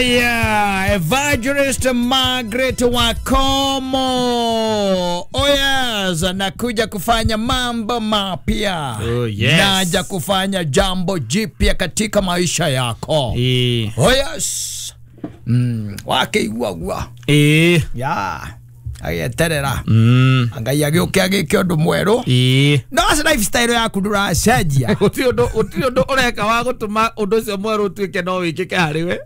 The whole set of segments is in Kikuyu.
Aya, Evangelist Margaret Wakomo. Oh yes, nakuja kufanya mambo mapya. Oh yes. Naja kufanya jambo jipya katika maisha yako. Oh yes. Wakeigua. Ya. Agieterera. Ngai agĩũke agĩke ũndũ mwerũ. No lifestyle yaku ndũracenjia. Gũtirĩ ũndũ ũreka wa gũtũma ũndũ ũcio mwerũ ũtuĩke no wĩkĩke harĩ we.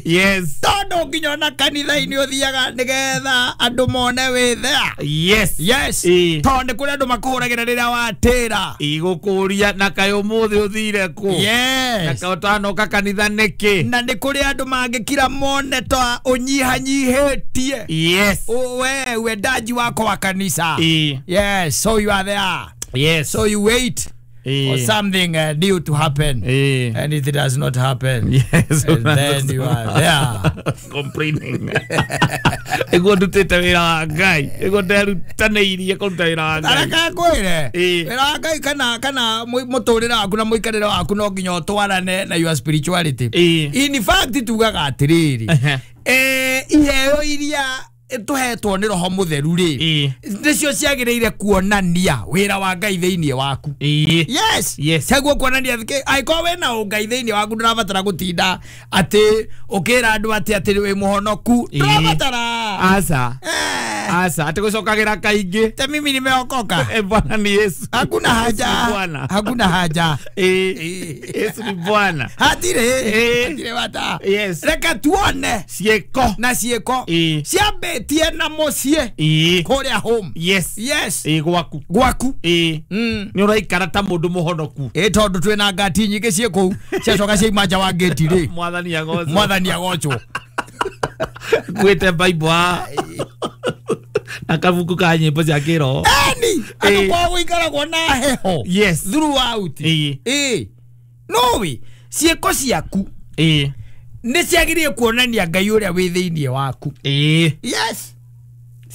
Yes. Tondũ nginya ona kanitha-inĩ ũthiaga nĩgetha andũ mone wĩ there. Yes. Yes. Tondũ nĩ kũrĩ andũ makũhũragĩra rĩrĩa watĩra. Igũkũria na kaĩ ũmũthĩ ũthire kũ. Yes. Na kaĩ ũtanoka kanitha nĩkĩ. Na nĩ kũrĩ andũ mangĩkira mone ta ũnyihanyihĩtie. Yes. We uendaji wako wa kanisa. Yes, so you are there. Yes. So you wait for something new to happen. And if it does not happen, yes, and then you are there complaining. Ego ndutite wira wa Ngai. Ego nderutanĩirie kũruta wĩra wa Ngai. Araka ngwĩre. Wĩra wa Ngai kana mũtũrĩre waku na mũikarĩre waku no nginya ũtwarane na your spirituality. In fact tugaga atĩrĩrĩ, iheo iria tuhetwo nĩ roho mũtheru rĩ, nĩcio ciagĩrĩire kuonania wĩra wa Ngai thĩinĩ waku. Yes. Ciaguo kuonania angĩkorwo wĩna ũngai thĩinĩ waku ndũrabatara gũtinda atĩ ũkĩra andũ atĩ wĩ mũhonoku. Ndũrabatara. Aca. Aca, atĩ gũcokagĩra kaingĩ. Ta mimi nimeokoka. Bwana ni Yesu. Hakuna haja. Hakuna haja. Yesu ni Bwana. Hatirĩ. Hatirĩ bata. Yes. Reke tuone ciĩko na ciĩko ciambĩtie na mũciĩ kũrĩa home. Yes. Yes. Gwaku. Gwaku. Nĩ ũraikara ta mũndũ mũhonoku. Tondũ twĩna ngati nyingĩ ciĩ kũu ciacoka ciaima nja wa ngĩti rĩ. Mwathani agocwo. Mwathani agocwo. Gwĩte Bible na kabuku ka nyĩmbo cia kĩroho. Eni andũ kwao gũikaragwo na heho. Yes. Throughout. Noĩ ciĩko ciaku nĩ ciagĩrĩire kuonania Ngai ũrĩa wĩ thĩinĩ waku. Yes.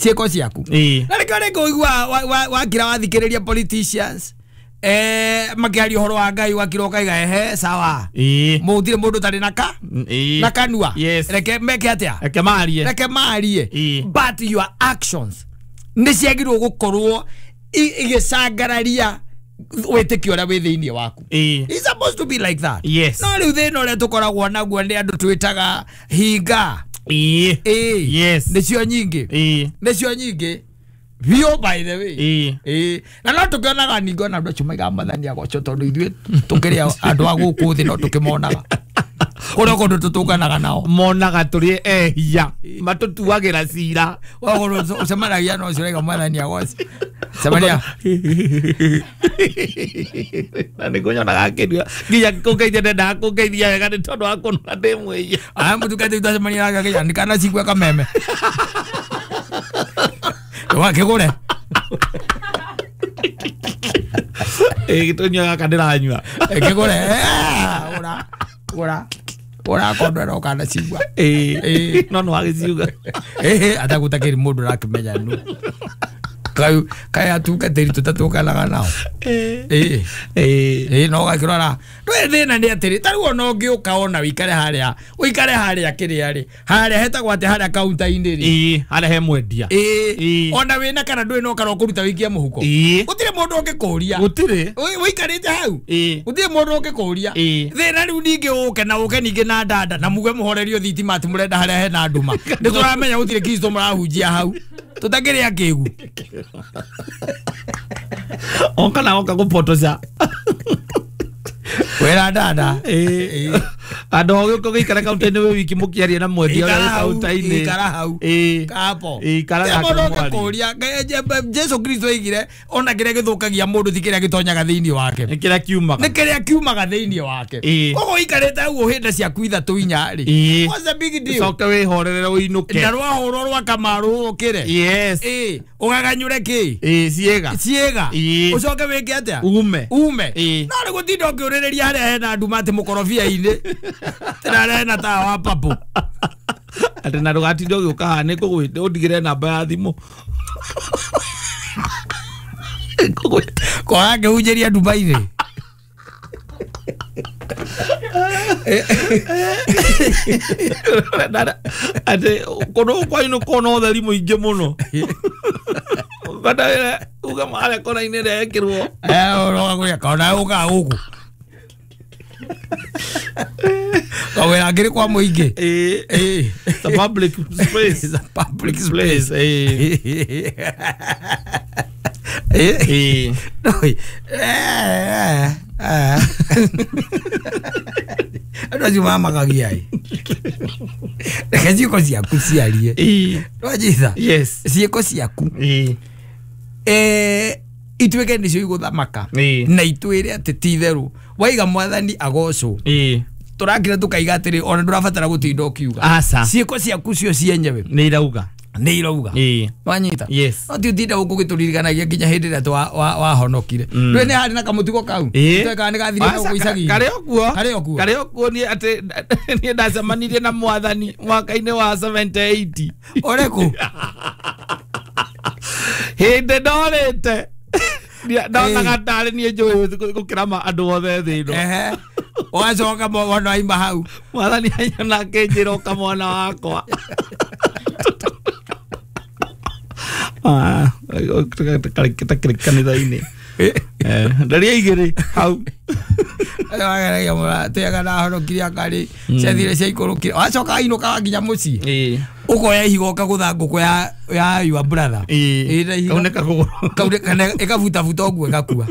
Ciĩko ciaku. Na nĩkĩo rĩngĩ ũigua wakira wathikĩrĩria politicians makĩaria ũhoro wa Ngai wakira ũkaiga ehe sawa. Mũtirĩ mũndũ ũtarĩ na ka na kanua. Reke meke atĩa? Reke marie. Reke marie. But your actions nĩ ciagĩrĩirwo gũkorwo igĩcangararia wĩtĩkio ũrĩa wĩ thĩinĩ waku. It's supposed to be like that. Yes. No rĩu thĩna ũrĩa tũkoragwo naguo nĩ andũ twĩtaga hinga. Yes. Nĩcio nyingĩ. Nĩcio nyingĩ. Biũ by the way. Na no tũkĩonaga ningĩ ona andũ acio maigaga Mwathani agocwo tondũ ithuĩ tũkĩrĩ andũ a gũkũ thĩ no tũkĩmonaga. Kũrĩa kũndũ tũtũnganaga nao. Monaga tũrĩ ehia. Matũtuagĩra cira. Wakorwo ũcemanagia na ũcio ũraiga Mwathani agocwo. Cemania. Na nĩngũnyonaga akĩnyua. Nginya kũngeithia ndendaga kũngeithia wega nĩ tondũ wa kũnora ndĩ mwĩhia. Aya mũtungatĩri twacemania nake akĩnjĩra nĩ kana cigua kameme. Wakĩgũre. Gĩtũnyua gaka ndĩranyua. Kĩgũre. Gũra. Gũra. Gũra kondwera ũkana cigua. No nĩ wagĩciuga. Atagũtakĩrĩ mũndũ ũrakĩmenya nũ. Kaĩ atungatĩri tũtatũnganaga nao. No ũgakĩrora. Ndũĩ thĩna nĩ atĩrĩ, ta rĩu ona ũngĩũka ona ũikare harĩa, ũikare harĩa kĩrĩa rĩ, harĩa hetagwo atĩ harĩa kaunta-inĩ rĩ. Harĩa he mwendia. Ona wĩna kana ndũrĩ na ũkara ũkũruta wĩikie mũhuko. Gũtirĩ mũndũ ũngĩkũria. Gũtirĩ. Ũikarĩte hau. Gũtirĩ mũndũ ũngĩkũria. Thĩna rĩu ningĩ ũke na ũke ningĩ na ndanda na muge mũhorerio thitima atĩ mũrenda harĩa hena nduma. Nĩ tũramenya gũtirĩ Kristo mũrahunjia hau. Tũtakĩrĩ akĩgu. Oka na oka gũpotoca. Wĩra ndanda. Andũ ogĩũka ũgĩikara kaunta-inĩ wĩ wiki mũkĩaria na mwendia ũrĩa wĩ kaunta-inĩ. Ikara hau. Kapo. Ikara nake mũndũ mũarie. ũngĩkũria. Jesu Kristo oigire ona kĩrĩa gĩthũkagia mũndũ ti kĩrĩa gĩtonyaga thĩinĩ wake. Nĩ kĩrĩa kiumaga. Nĩ kĩrĩa kiumaga thĩinĩ wake. Koguo ũikarĩte hau ũhĩnda ciaku ithatũ inya rĩ. What's the big deal? Ũcoke wĩhorere ũinũke. Na rwahũrwo rwa kamaru ũkĩre. Yes. Ũgaganyũre kĩ? Ciĩga. Ciĩga. Ũcoke wĩke atĩa? Ume. Ume. No rĩ gũtinda ũkĩũrĩrĩria harĩa hena nduma atĩ mũkorobia-inĩ. Tena hena tawa wa papo. Atĩ na ndũgatinde ũgĩũka haha nĩ ngũgwĩte ũndigĩre namba ya thimũ. Kwaga ngĩhunjĩria nduma-inĩ. Ati kundu kwa kona utheri muingi muno. Bada uga mara kona ine rekirwo. Uroga kuria kona uga guku. Kawira ngiri kwa muingi. It's a public space. It's a public space. No. Andũ acio mamakagia ĩ. Reke ciĩko ciaku ciarie. Nĩwanyita? Yes. Ciĩko ciaku ituĩke nĩcio igũthamaka na itwĩre atĩ ti itherũ waiga mwathani agocwo. Tũrakira tũkaiga atĩrĩ ona ndũrabatara gũtinda ũkiuga. Ciĩko ciaku cio cienyewe nĩ irauga. Nĩ irauga. Wanyita? Yes. No ti ũtinda gũkũ gĩtũririkanagia nginya hĩndĩ ĩrĩa wahonokire. Ndũĩ nĩ harĩ na kamũtugo kau? Kana nĩ gathirire gũkũ icagi-inĩ? Karĩ o kuo. Karĩ o kuo. Karĩ o kuo niĩ atĩ niĩ ndacemanirie na mwathani mwaka-inĩ wa 78. Ũrĩkũ? Hĩndĩ ndorĩte. Ndonaga tarĩ niĩ njũĩ gũkĩra andũ othe thĩ ĩno. Ũgacoka wona waima hau. Mwathani anyona akĩnjĩra ũka mwana wakwa. Kanitha-inĩ. Ndaria igĩrĩ hau. Wageragia mũratĩaga ndahonokirie akarĩ ciathire ciaikũrũkire wacoka ainũkaga nginya mũciĩ ũkoya ihiga ũkagũtha ngũkũ ya your brother. Kaunĩka kũgũrũ. Kana ĩkabutabuta ũguo ĩgakua.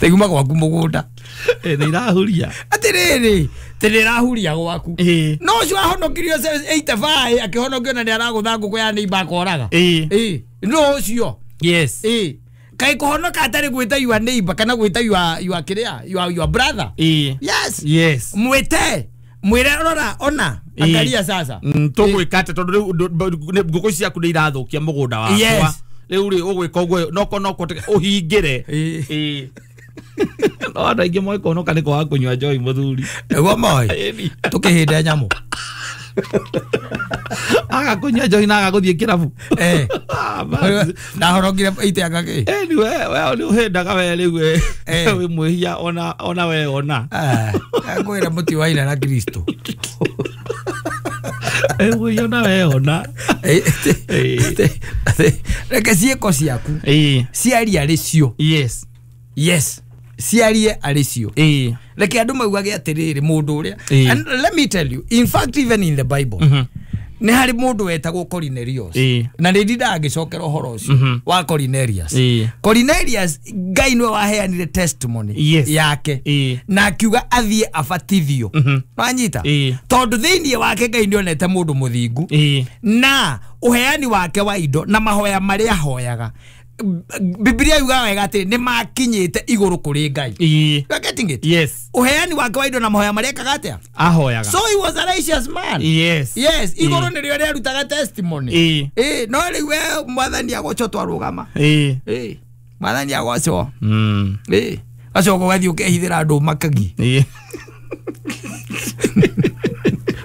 Tĩguma gwaku mũgũnda. Nĩ irahuria. Atĩrĩrĩ tĩ nĩ ĩrahuria gwaku. No ũcio ahonokirio 85 akĩhonokio na nĩ aragũtha ngũkũ ya neighbor akoraga. No ũcio. Yes. Kai kũhonoka atarĩ gwĩta your neighbor kana gwĩta your kĩrĩa your brother. Yes. Yes. Mwĩte mwĩre rora ona angalia sasa. Tũgwĩka atĩa tondũ rĩu ngũkũ ciaku nĩ irathũkia mũgũnda wakwa. Yes. Rĩu rĩ ũgwĩka ũguo noko noko ũhingĩre. No andũ aingĩ moĩ kũhonoka nĩ kwaga kũnyua njohi mũthuri. Nĩguo moĩ. Tũkĩhĩnda nyamũ. Aga kũnyua njohi na aga gũthiĩ kĩrabu. Ndahonokire iteanga kĩ? We nĩ ũhĩndaga we rĩu wĩ mwĩhia ona we ona. Ngwĩra mũti waina na Kristo. Mwĩhia ona we ona. Reke ciĩko ciaku ciarie arĩ cio. Yes. Yes. Ciarie arĩ cio. Reke andũ maugage atĩrĩrĩ mũndũ ũrĩa. And let me tell you, in fact even in the Bible, nĩ harĩ mũndũ wetagwo Cornelius. Na nĩ ndindaga ngĩcokera ũhoro ũcio wa Cornelius. Cornelius Ngai nĩwe waheanire testimony yake na akiuga athiĩ abatithio. Wanyita? Tondũ thĩinĩ wake Ngai nĩonete mũndũ mũthingu na ũheani wake wa indo na mahoya marĩa ahoyaga. Biblia yugaga wega atĩ nĩ makinyĩte igũrũ kũrĩ Ngai. You are getting it? Yes. Ũheani wake wa indo na mahoya marĩa ekaga atĩa? Ahoyaga. So he was a righteous man. Yes. Yes, igũrũ nĩrĩo rĩarutaga testimony. No rĩu we mwathani agocwo twarũgama. Mwathani agocwo. Acoka ũgathiĩ ũkehithĩra andũ makagi.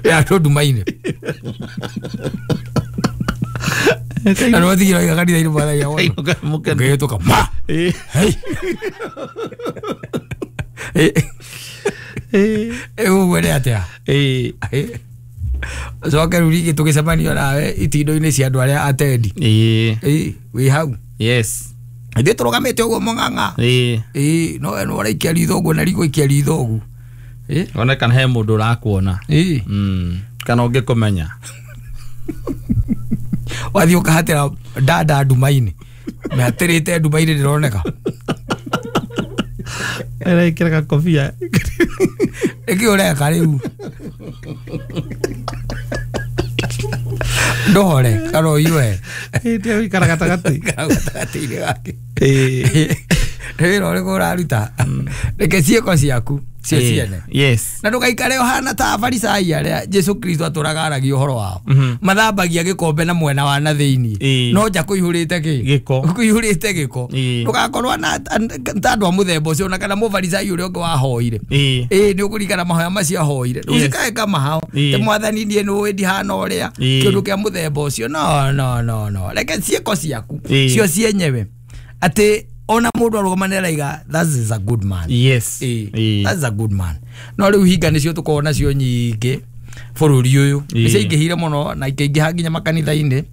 Andũ nduma-inĩ. Na no thigira iga kanitha-inĩ mwathani agocwo. Ũkĩhĩtũka ma. Ũguo nĩ atĩa? Coke rĩu rĩngĩ tũgĩcemanio nawe itindo-inĩ cia andũ arĩa atendi. Wĩ hau. Yes. Ithuĩ tũrũgamĩte ũguo mũng'ang'a. No we nĩ ũraikia ritho ũguo na rigũikia ritho ũguo. One kana he mũndũ ũrakuona. Kana ũngĩkũmenya. Wathiĩ ũkahatĩra dada nduma-inĩ. Mĩhatĩrĩte nduma-inĩ ndĩroneka. Ĩrekĩra gakobia. Nĩkĩ ũreka rĩu? Ndũhore kana ũiyũhe. Hĩndĩ ĩyo ũikara gatagatĩ. Gatagatĩ-inĩ gake. Nĩ wĩra ũrĩkũ ũraruta? Reke ciĩko ciaku cio ciene. Yes. Na ndũgaikare ũhana ta Afarisai arĩa Jesu Kristo atũraga aragia ũhoro wao. Mathambagia gĩkombe na mwena wa na thĩinĩ. No nja kũihũrĩte kĩ? Gĩko. Kũihũrĩte gĩko. Ndũgakorwo na ta andũ a mũthemba ũcio ona kana mũfarisai ũrĩa ũngĩ wahoire. Nĩ ũkũririkana mahoya macio ahoire. Ndũcikae kamahao. Te mwathani niĩ nĩũĩ ndihana ũrĩa. Kĩũndũ kĩa mũthemba ũcio. No no no no. Reke ciĩko ciaku cio cienyewe. Atĩ ona mũndũ arũgama nĩ araiga that is a good man. Yes. That's a good man. No rĩu hinga nĩcio tũkoragwo nacio nyingĩ bũrũri ũyũ. Nĩciaingĩhire mũno na ikaingĩha nginya makanitha-inĩ.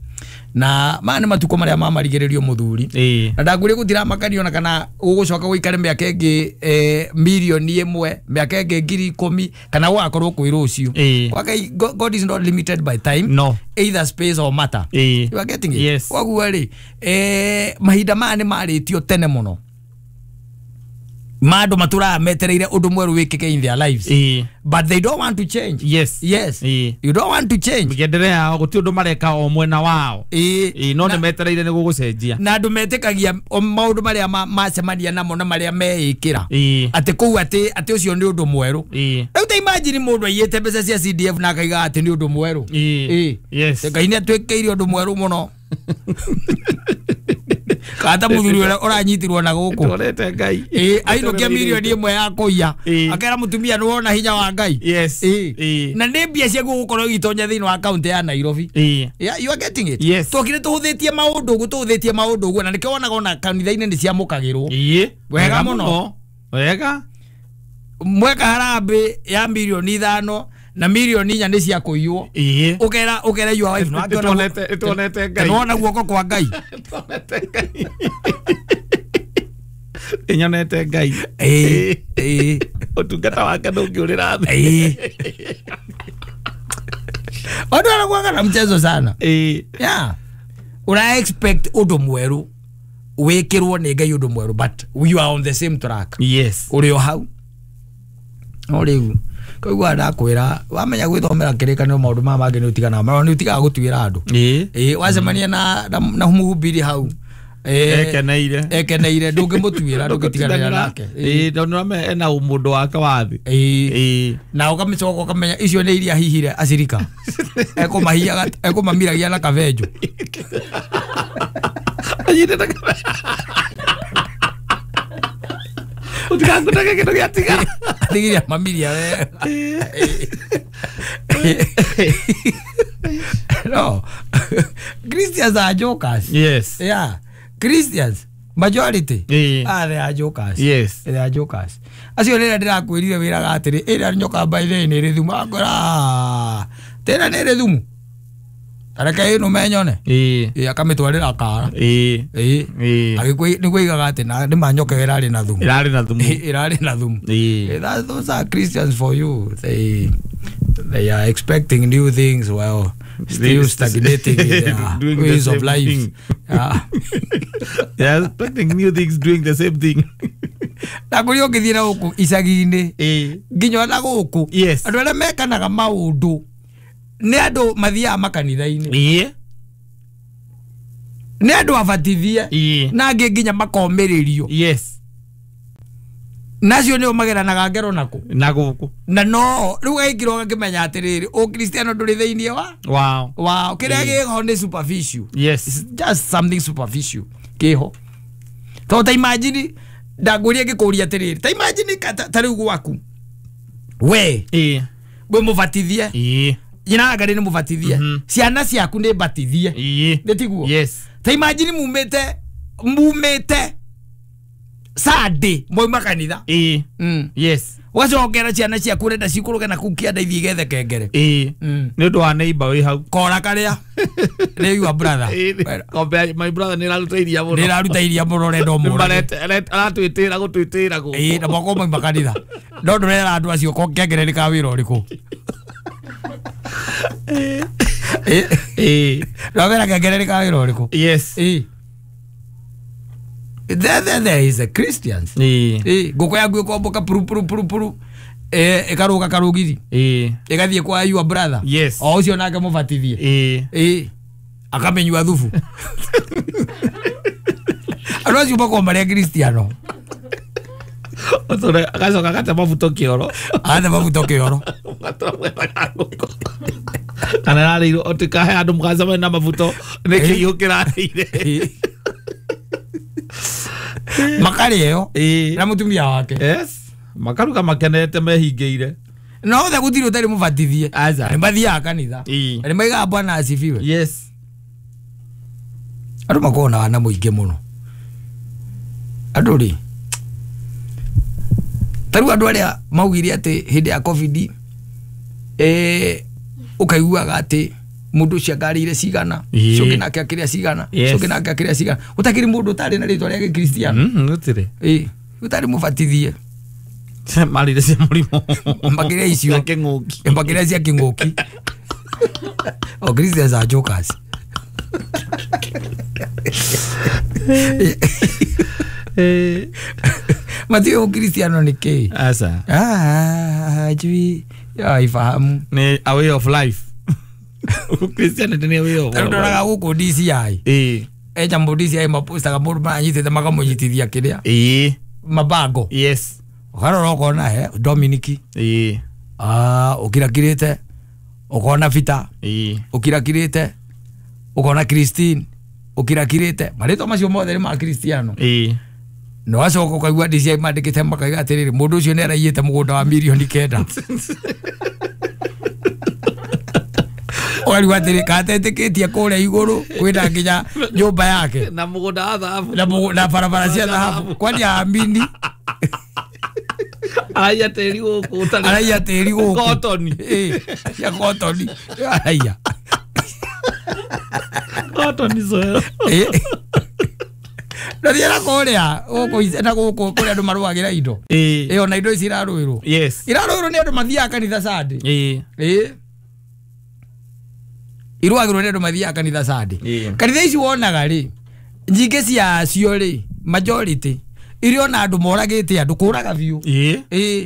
Na maya nĩ matukũ marĩa mamarigĩrĩrio mũthuri. Na ndangwĩria gũtiramakanio na kana gũgũcoka gũikare mĩaka ĩngĩ mirioni 1, mĩaka ĩngĩ 10,000 kana gũgakorwo kwĩ rũciũ. Kwa Ngai, God is not limited by time. No. Either space or matter. You are getting it? Yes. Koguo rĩ, mahinda maya nĩ marĩtio tene mũno. Ma andũ matũraga metereire ũndũ mwerũ wĩkĩke in their lives. But they don't want to change. Yes. Yes. You don't want to change. Mĩgendere yao gũtirĩ ũndũ mareka o mwena wao. No nĩ metereire nĩ gũgũcenjia. Na andũ metĩkagia maũndũ marĩa macemania namo na marĩa meĩkĩra. Atĩ kũu atĩ ũcio nĩ ũndũ mwerũ. Rĩu ta imagine mũndũ aiyĩte mbeca cia CDF na akaiga atĩ nĩ ũndũ mwerũ. Yes. Ngai nĩ atwĩkĩire ũndũ mwerũ mũno. Kata mũthuri ũrĩa ũranyitirwo na gũkũ. Tũrete Ngai. Ainũkia mirioni 1 ya kũiya. Akera mũtumia nĩ wona hinya wa Ngai. Yes. Na nĩ mbia ciaku gũkorwo igĩtonya thĩinĩ wa kaunti ya Nairobi. Yeah, you are getting it. Yes. Tokire tũhũthĩtie maũndũ ũguo, tũhũthĩtie maũndũ ũguo, na nĩkĩo wonaga ona kanitha-inĩ nĩ ciamũkagĩrwo. Wega mũno. Wega. Mweka harambĩ ya mirioni 5 na mirioni 4 nĩ cia kũiywo. Ũkera your wife no ĩtuonete Ngai. Nĩwona guoko kwa Ngai. Ĩtuonete Ngai. Ĩnyonete Ngai. Ũtungata wake ndũngĩũrĩra thĩ. Watu wanakuanga na mchezo sana. Yeah. Una expect ũndũ mwerũ wĩkĩrwo nĩ Ngai ũndũ mwerũ, but you are on the same track. Yes. Ũrĩ o hau. No rĩu koguo ndakwĩra wamenya gwĩthomera kĩrĩkanĩro maũndũ maya mangĩ nĩ ũtiganaga nĩ ũtigaga gũtuĩra andũ. Wacemania na mũhubiri hau ekeneire ndũngĩmũtuĩra, ndũngĩtiganĩra nake. Tondũ ena ũmũndũ wake wa thĩ. Na ũkamĩcoka ũkamenya icio nĩ iria hihire acirika. Ekũmahiaga, ekũmamiragia na kabenjũ. Anyitĩte kabenjũ. Ũtigangũtege kĩndũ gĩatigara. Atigiria mamiria we. No. Christians are jokers. Yes. Yeah. Christians majority. Ah, they are jokers. Yes. They are jokers. Acio rĩrĩa ndĩrakwĩrire wĩraga atĩrĩ, ĩrĩa nyoka by the nĩ ĩrĩ thumu. Akora. Tena nĩ ĩrĩ thumu. Tareke ĩno menyone. Akamĩtwarĩra kara. Agĩkwĩ nĩguo aigaga atĩ na nĩ ma nyoka ĩrarĩ na thumu. Ĩrarĩ na thumu. Ĩrarĩ na thumu. Those are Christians for you. They are expecting new things while still stagnating in their ways of life. They are expecting new things, doing the same thing. Na kũrĩa ũngĩthiĩ na gũkũ icagi-inĩ nginya ona gũkũ andũ arĩa mekanaga maũndũ nĩ andũ mathiaga makanitha-inĩ. Nĩ andũ abatithie na angĩ nginya makomĩrĩrio. Yes. Nacio nĩo mageranaga ngero nakũ na gũkũ. Na no rĩu gaikirwo gakĩmenya atĩrĩrĩ, ũkristiano ndũrĩ thĩinĩ wa wao. Kĩrĩa gĩho nĩ superficial. Yes. It's just something superficial kĩho. Tondũ ta imagine ndangũria ngĩkũria atĩrĩrĩ, ta imagine ta rĩu gwaku we wĩ mũbatithie, nyina wa Ngai nĩ mũbatithie, ciana ciaku nĩ batithie, nĩ tiguo? Yes. Ta imagine mumĩte Sunday mwauma kanitha. Yes. Ũgacokera ciana ciaku ũrenda cikũrũke na kũu kĩanda ithiĩ igethe kengere. Nĩ ũndũ wa neighbor wĩ hau. Kora karĩa nĩ your brother. Kombe my brother nĩ ĩraruta iria mũno. Nĩ ĩraruta iria mũno ũrenda ũmũrage. Aratwĩtĩra gũtwĩtĩra gũkũ. Na mwako mwauma kanitha. No ndũrera andũ acio kengere nĩ ka wĩra ũrĩkũ. Ndũramera kengere nĩ ka wĩra ũrĩkũ. Yes. There is a Christians. Ngũkũ yaku ĩkomboka puru puru puru puru. Ĩkarũga karũgiri. Ĩgathiĩ kwa your brother. Yes. O ũcio nake mũbatithie. Akamenyua thubu. Andũ acio makoragwo marĩ Akristiano. Agacoka agate mabuto kĩoro. Agate mabuto kĩoro. Kana ĩrarĩirwo ũtikahe andũ mũgacemania na mabuto nĩ kĩiyũ kĩrarĩire. Makarĩo na mũtumia wake. Yes. Makaruga makenete mehingĩire. No othe gũtirĩ ũtarĩ mũbatithie. Nĩ mathiaga kanitha. Nĩ maigaga Bwana asifiwe. Yes. Andũ makoragwo na wana mũingĩ mũno. Andũ rĩ Taru andũ arĩa maugire atĩ hĩndĩ ya COVID ũkaiguaga atĩ mũndũ ũcio angarĩire cigana, ũcio ũngĩ nake akĩrĩa cigana, ũcio ũngĩ nake akĩrĩa cigana. Gũtakĩrĩ mũndũ ũtarĩ na rĩtwa rĩa Gĩkristiano. Gũtirĩ. Ũtarĩ mũbatithie. Marire cia mũrimũ. Makĩria icio. Cia kĩng'ũki. Makĩria cia kĩng'ũki. O Christians are jokers. Matiũĩ ũkristiano nĩ kĩĩ. Aca. Hajui aifahamu. Ni a way of life. Christianity ni a way of life. Ndoraga gũkũ DCI. Eja DCI mapostaga mũndũ maranyitĩte makamũnyitithia kĩrĩa. Mabango. Yes. Ũkarora ũkona he Dominic. Ũkirakirĩte ũkona Peter. Ũkirakirĩte ũkona Christine. Ũkirakirĩte marĩtwa macio mothe nĩ ma Kristiano. No acoka ũkaigua DCI mandĩkĩte makaiga atĩrĩrĩ mũndũ ũcio nĩ araiyĩte mũgũnda wa 9 million. Ũkarigwo atĩrĩ katetĩkĩtie kũrĩa igũrũ kwĩna nginya nyũmba yake na mũgũnda wa thahabu na barabara cia thahabu kwani aamini araiya tĩri gũkũ ũtarĩ araiya tĩri gũkũ kotoni cia kotoni araiya kotoni soil na thiĩ na kũrĩa gũkũ na gũkũ kũrĩa andũ marũagĩra indo ona indo ici irarũĩrwo. Yes. Irarũĩrwo nĩ andũ mathiaga kanitha Sunday. Irũagĩrwo nĩ andũ mathiaga kanitha Sunday. Kanitha ici wonaga rĩ nyingĩ ciacio rĩ majority iria ona andũ moragĩte andũ kũraga biũ.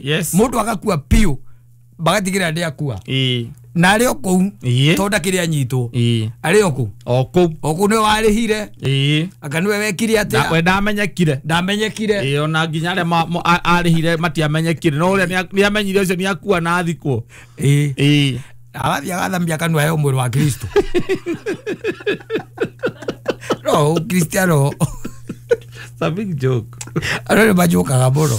Yes. Mũndũ agakua biũ bagatigĩrĩra ndĩakua. Na arĩ o kũu tondũ ndakĩrĩ anyitwo. Arĩ o kũu. O kũu. O kũu nĩwe warĩhire. Anga nĩwe wekire atĩa. We ndamenyekire. Ndamenyekire. Ona nginya arĩa arĩhire matiamenyekire. No ũrĩa nĩamenyire ũcio nĩakua na athikwo. Agathiĩ agathamia kanua heo mwĩrĩ wa Kristo. No Kristiano. It's a big joke. Andũ nĩ majokaga mũno.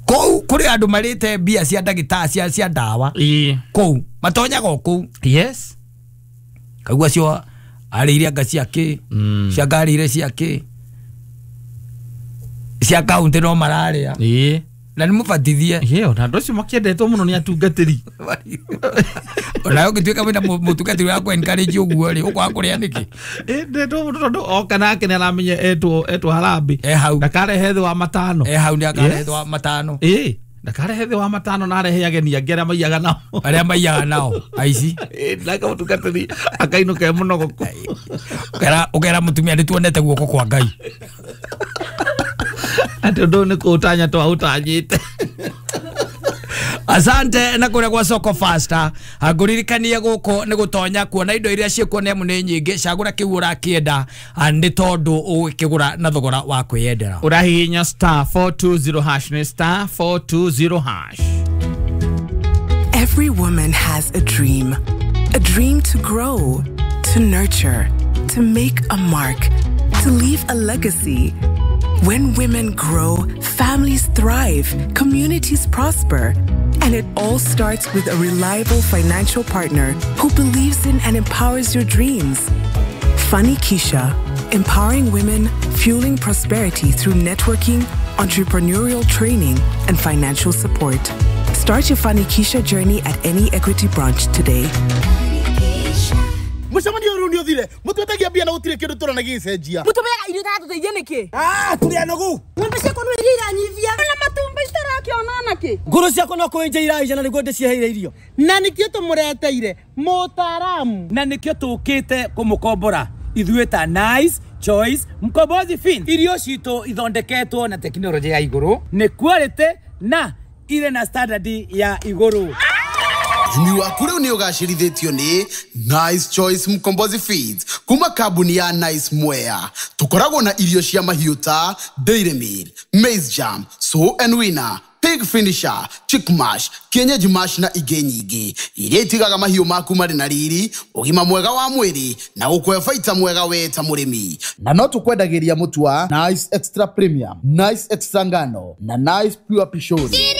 Kũu kũrĩ andũ marĩte mbia cia ndagĩtarĩ cia ndawa. Kũu matonyaga o kũu. Yes. Kaigua acio arĩire anga cia kĩ, cia ngarĩire cia kĩ, cia kaunti no mararĩa. Na nĩ mũbatithie. Ona andũ acio makĩendetwo mũno nĩ atungatĩri. Onawe ũngĩtuĩka wĩna mũtungatĩri wa kũ encourage ũguo rĩ ũkwaga kũrĩa nĩkĩ? Ndetwo mũno tondũ oka nake nĩ aramenya etwo harambĩ. Hau. Ndakarehe thĩ wa 5. Hau nĩ akarehe thĩ wa 5. Ndakarehe thĩ wa 5 na arehe ageni angĩ arĩa maiyaga nao. Arĩa maiyaga nao aici. Nake mũtungatĩri akainũka e mũnogoku. Ũkera mũtumia nĩ tuonete guoko kwa Ngai. Atĩ ũndũ ũyũ nĩ kũũtanya twaũtanyĩte. Asante na kũrĩa gwa Soko Faster. Ngũririkanie gũkũ nĩ gũtonya kuona indo iria ciĩkuo nĩ amu nĩ nyingĩ. Cagũra kĩu ũrakĩenda nĩ tondũ ũgĩkĩgũra na thogora wa kwĩyendera. Ũrahihinya *420# nĩ *420#. Every woman has a dream. A dream to grow, to nurture, to make a mark, to leave a legacy. When women grow, families thrive, communities prosper. And it all starts with a reliable financial partner who believes in and empowers your dreams. Funny Keisha, empowering women, fueling prosperity through networking, entrepreneurial training, and financial support. Start your Funny Keisha journey at any Equity branch today. Mucemanio rĩu nĩ ũthire mũtwetagia mbia na gũtirĩ kĩndũ tũrona gĩgĩcenjia mũtũmĩaga irio itatũteithia nĩkĩ tũrĩ anogu ng'ombe ciakwa no iria iranyivia na matumbĩ citarakĩona nakĩ ngũrũ ciakwa no kũenja iraija na nĩguo ndĩciheire irio na nĩkĩo tũmũreteire mũtaaramu na nĩkĩo tũkĩte kũmũkombora ithuĩ ta Nice Choice Mkombozi Fin. Irio citũ ithondeketwo na tekinoronjĩ ya igũrũ nĩ quality na irĩ na standard ya igũrũ. Ũrĩmi waku rĩu nĩ ũgacĩrithĩtio nĩ Nice Choice Mkombozi Feeds kuma kambuni ya Nice Mwea. Tũkoragwo na irio cia mahiũ ta Dairy Meal, Maize Jam, Sow and Winner, Pig Finisher, Chick Mash, Kienyeji Mash na ingĩ nyingĩ iria itigaga mahiũ maku marĩ na riri, ũgima mwega wa mwĩrĩ na gũkũhe baita mwega we ta mũrĩmi. Na no tũkwendagĩria mũtu wa Nice Extra Premium, Nice Extra Ngano na Nice Pure Pishori.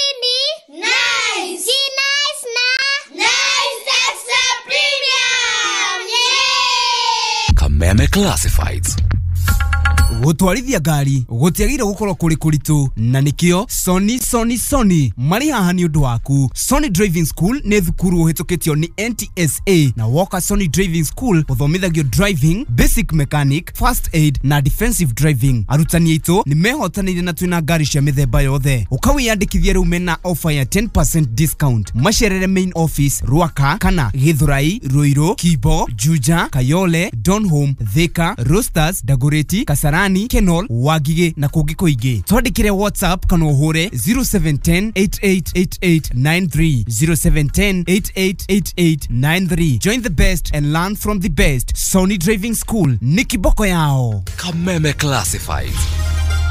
Kameme Classifieds. Gũtwarithia ngari gũtiagĩrĩire gũkorwo kũrĩ kũritũ, na nĩkĩo Sony Sony Sony marĩ haha nĩ ũndũ waku. Sony Driving School nĩ thukuru ũhĩtũkĩtio nĩ NTSA, na woka Sony Driving School ũthomithagio driving, basic mechanic, first aid na defensive driving. Arutani aitũ nĩ mehotanĩire na twĩna ngari cia mĩthemba yothe. Ũkawĩyandĩkithia rĩu mena offer ya 10% discount. Macerere main office Ruaka kana Githurai, Ruiru, Kibo, Juja, Kayole, Donholm, Thika, Roasters, Dagoretti, Kasarani, Kenol, Wangigĩ na kũngĩ kũingĩ. Twandĩkĩre WhatsApp kana ũhũre 0710 888893, 0710 888893. Join the best and learn from the best. Sony Driving School nĩ kiboko yao. Kameme Classifieds.